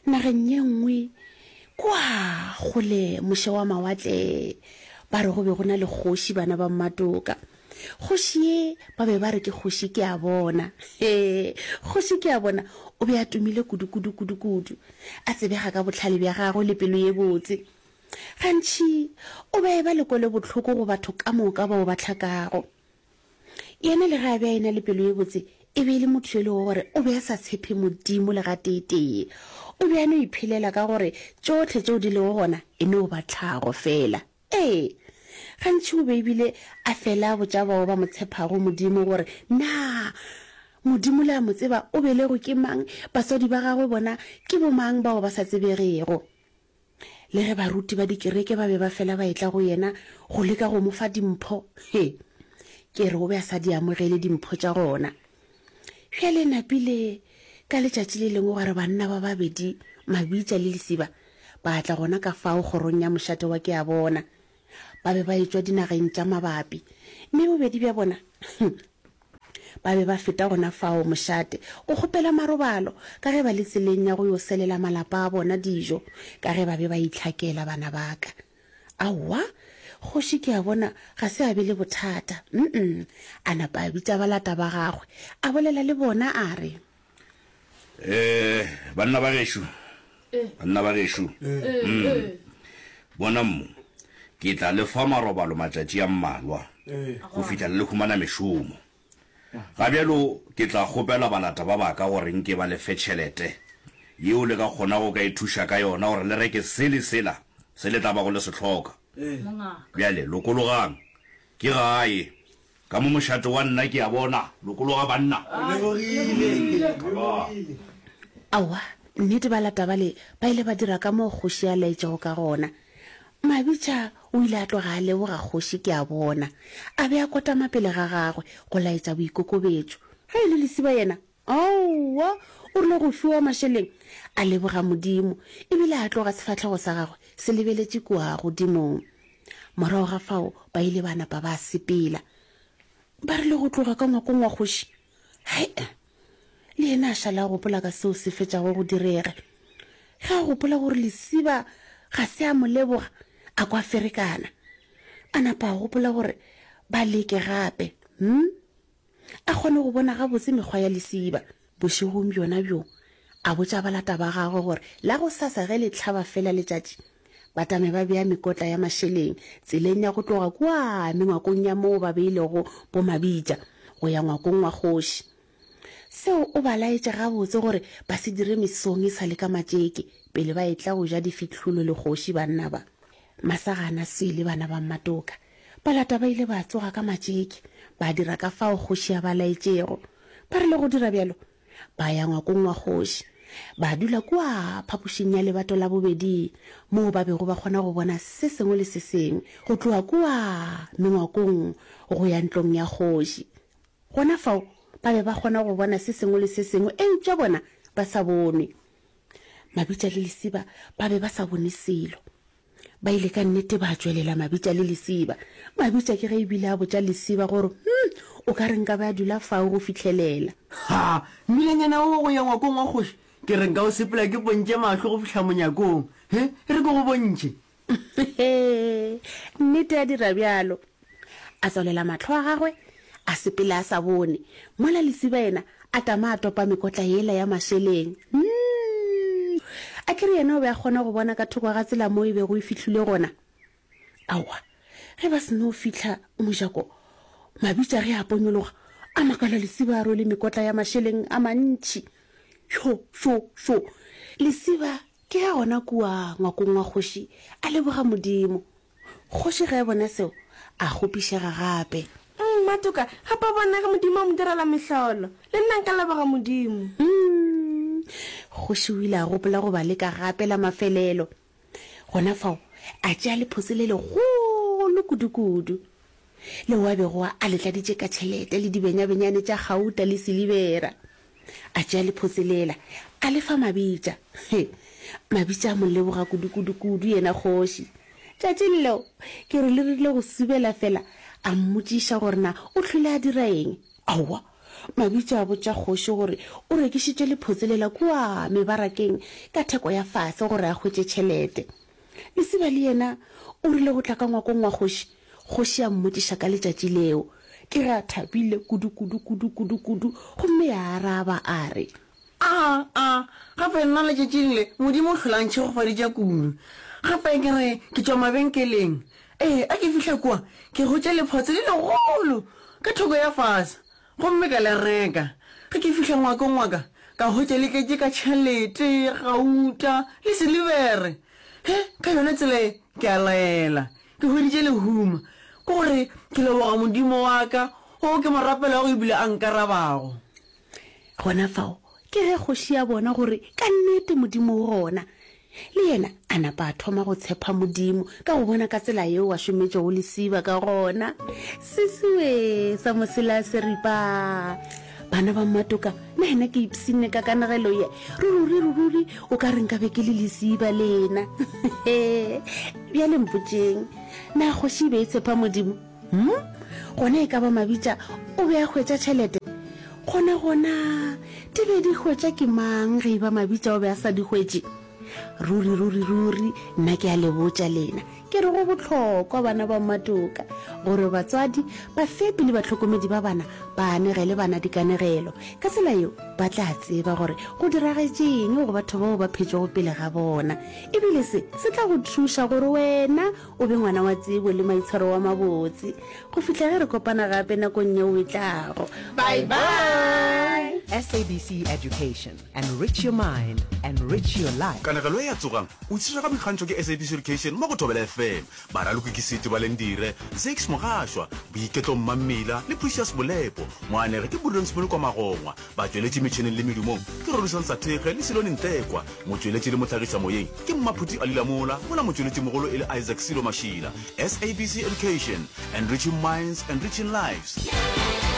Nageng ye nngwe kua kgole moše wa mawatle, ba re go be go na le kgoši bana ba Mmatoka. Kgoši ye ba be ba re ke kgoši Keabona. Hee, kgoši Keabona o be a tumile kudu-kudu kudu-kudu, a tsebega ka bohlale bja gagwe le pelo ye botse. Gantši o be a eba le kwelobohloko go batho ka moka bao ba hlakago. Yena le ge a be a e-na le pelo ye botse, e be e le motho yo e lego gore o be a sa tshepe Modimo le gatee-tee. O be a no iphelela ka gore tšohle tšeo di lego gona e no ba tlhago feela. Ee, gantši o be e bile a fela a botša bao ba mo tshepago Modimo gore, Na Modimo le a mo tseba o belegwe ke mang, batswadi ba gagwe bona ke bomang bao ba sa tsebegego? Le ge baruti ba dikereke ba be ba fela ba etla go yena go leka go mo fa dimpho, he, ke re o be a sa di amogele dimpho tša gona. Bjale napile ka letšatši le lengwe gwa re banna ba babedi, Mabitša le Lesiba, ba tla gona ka fao kgorong ya mošate wa Keabona. Ba be ba etšwa dinageng tša mabapi, mme bobedi bja bona, hum, Ba be ba feta gona fao mošate go kgopela marobalo ka ge ba le tseleng ya go yo selela malapa a bona dijo ka ge ba be ba itlhakela bana ba ka. Aowa, kgoši ke a bona ga se a be le bothata. Mm-mm. A napa a bitša balata ba gagwe, a bolela le bona a re. Eh, banna ba gešo, banna ba gešo, mm, bonang mo, ke tla le fa marobalo matšatši a mmalwa go fihla le humana mešomo. Ga bjalo ke tla kgopela balata ba baka gore nke ba le fe tšhelete yeo le ka kgonago ka ithuša ka yona gore le reke se le sela se le tla bago le se hloka. Bjale lokologang, ke gae. Ka mo mošate wa nna ke a bona. Lokologa banna. Aowa, nnete balata bale ba ile ba dira ka moo kgoši a laetšego ka gona. Mabitša o ile a tloga a leboga kgoši ke a bona. A be a kotama pele ga gagwe go laetša boikokobetšo. Ge e le Lesiba yena, aowa, o rile go fiwa mašeleng a leboga Modimo ebile a tloga sefahlego sa gagwe se lebeletše kua godimong. Morago ga fao ba ile ba napa ba sepela. Ba rile go tloga ka ngwakong wa kgoši, hai, le yena a šala a gopola ka seo se fetšago go direga. Ge a gopola gore Lesiba ga se a mo leboga, a kwa ferekana. A napa a gopola gore ba leke gape. Hm? A kgone go bona gabotse mekgwa ya Lesiba. Bošegong bjona bjoo, a botša balata ba gagwe gore la gosasa ge le hlaba fela letšatši, ba tame ba bea mekotla ya mašeleng tseleng ya go tloga kua mengwakong ya moo ba beilego bomabitša go ya ngwakong wa kgoši. Seo o ba laetše gabotse gore ba se dire mesong e sa le ka matšeke pele ba etla go ja difihlolo le kgoši banna ba. Masagana, Swele, bana ba Mmatoka. Balata ba ile ba tsoga ka matšeke, ba dira ka fao kgoši a ba laetšego. Ba rile go dira bjalo, ba ya ngwakong wa kgoši, ba dula kua phapošing ya lebato la bobedi, moo ba bego ba kgona go bona se sengwe le se sengwe go tloga kua mengwakong go ya ntlong ya kgoši. Gona fao ba be ba kgona go bona se sengwe le se sengwe, eupša bona ba sa bonwe. Mabitša le Lesiba ba be ba sa bone selo. Ba ile ka nnete ba tšwelela Mabitša le Lesiba. Mabitša ke ge e bile a botša Lesiba gore, Hum, o ka re nka be a dula fao go fihlelela. Ha, mmilanyana wo wa go ya ngwakong wa kgoši, ke re nka o sepela ke pontše mahlo go fihla monyakong. He, e re ke go bontšhe. He, nnete a dira bjalo. A tswalela mahlo a gagwe, a sepela a sa bone, mola Lesiba yena a tama a topa mekotla yela ya mašeleng. Hum! A ke re yena o be a kgona go bona ka thoko ga tsela moo e bego e fihlilwe gona? Aowa, ge ba seno fihla mojako, Mabitša ge a ponyologa, a makala Lesiba a rwele mekotla ya mašeleng a mantši. Sho, sho, sho! Lesiba ke ge gona kua ngwakong wa kgoši a leboga Modimo. Kgoši ge a bona seo, a kgopišega gape. Mmatoka, gape a bona ge Modimo a mo direla mehlolo. Le nna nka leboga Modimo. Mm. Kgoši o ile a gopola go ba leka gape la mafelelo. Gona fao, a tšea lephotse le legolo kudukudu, leo a bego a le tladitše ka tšhelete le dibenyabenyane tša gauta le silibera. A tšea lephotse lela, a le fa Mabitša. He, Mabitša a mo leboga kudukudukudu yena kgoši. Tšatšing leo, ke re le rile go subela fela, a mmotšiša gore na o hlwele a dira eng. Aowa! Mabitša a botša kgoši gore o rekišitše lephotse lela kua mebarakeng ka theko ya fase gore a hwetše tšhelete. Lesiba le yena o rile go tla ka ngwakong wa kgoši, kgoši ya mmotšiša ka letšatši leo. Ke ge a thabile kudu, kudu, kudu, kudu, kudu, gomme ya araba a re. A, a, gape nna letšatšing le Modimo o hlola a ntšhegofaditše kudu. Gape ke re ke tšwa mabenkeleng. Ee, a ke fihla kua, ke hwetša lephotse le legolo ka thoko ya fase, gomme ka le reka. Ge ke fihla ngwakong wa ka, ka hwetša le tletše ka tšhelete, gauta le silibere. He, ka yona tsela ye, ke a laela, ke hweditše lehumo. Ke gore ke leboga Modimo wa ka, wo ke mo rapelago ebile a nkarabago. Gona fao ke ge kgoši ya bona gore ka nnete Modimo o gona. Le yena a napa a thoma go tshepa Modimo ka go bona ka tsela yeo a šometšego lesiba ka gona. Sesiwe sa mosela seripa. Bana ba Mmatoka, na yena ke ipshinne ka kanegelo ye. Ruri, ruri, o ka re nka be ke le lesiba lena. Bjale mpotšeng, na kgoši e be e tshepa Modimo? Hm? Gona e ka ba Mabitša o be a hwetša tšhelete? Gona gona di be di hwetša ke mang ge e ba Mabitša o be a sa di hwetše? Ruri, ruri, ruri, nna ke a le botša lena, ke re go bohlokwa, bana ba Mmatoka, gore batswadi, bafepi le bahlokomedi ba bana ba anegele bana dikanegelo. Ka tsela yeo ba tla tseba gore go diragetše eng go batho bao ba phetšego pele ga bona. E bile se se tla go thuša gore wena O be ngwana wa tsebo le maitshwaro wa mabotse. Go fihla ge re kopana gape nakong yeo e tlago. Bye bye! SABC Education, enrich your mind, enrich your life. Kanegelo ye ya Tsogang! O tlišwa ka boikgantšho ke SABC Education mo go Thobela FM. Baraloki ke Seti Balendire, Zakes Mogašwa, Boiketlo Mmammila le Precious Bolepo. Moanegi ke Prudence Molokwa Magongwa. Batšweletši metšheneng le medumong ke Rorisang Sathekge le Silone Ntekwa. Motšweletši le mohlagišamoyeng ke Mmaphuti Ali Lamola, mola motšweletšimogolo e le Isaac Silo Mashila. SABC Education, enriching minds, enriching lives.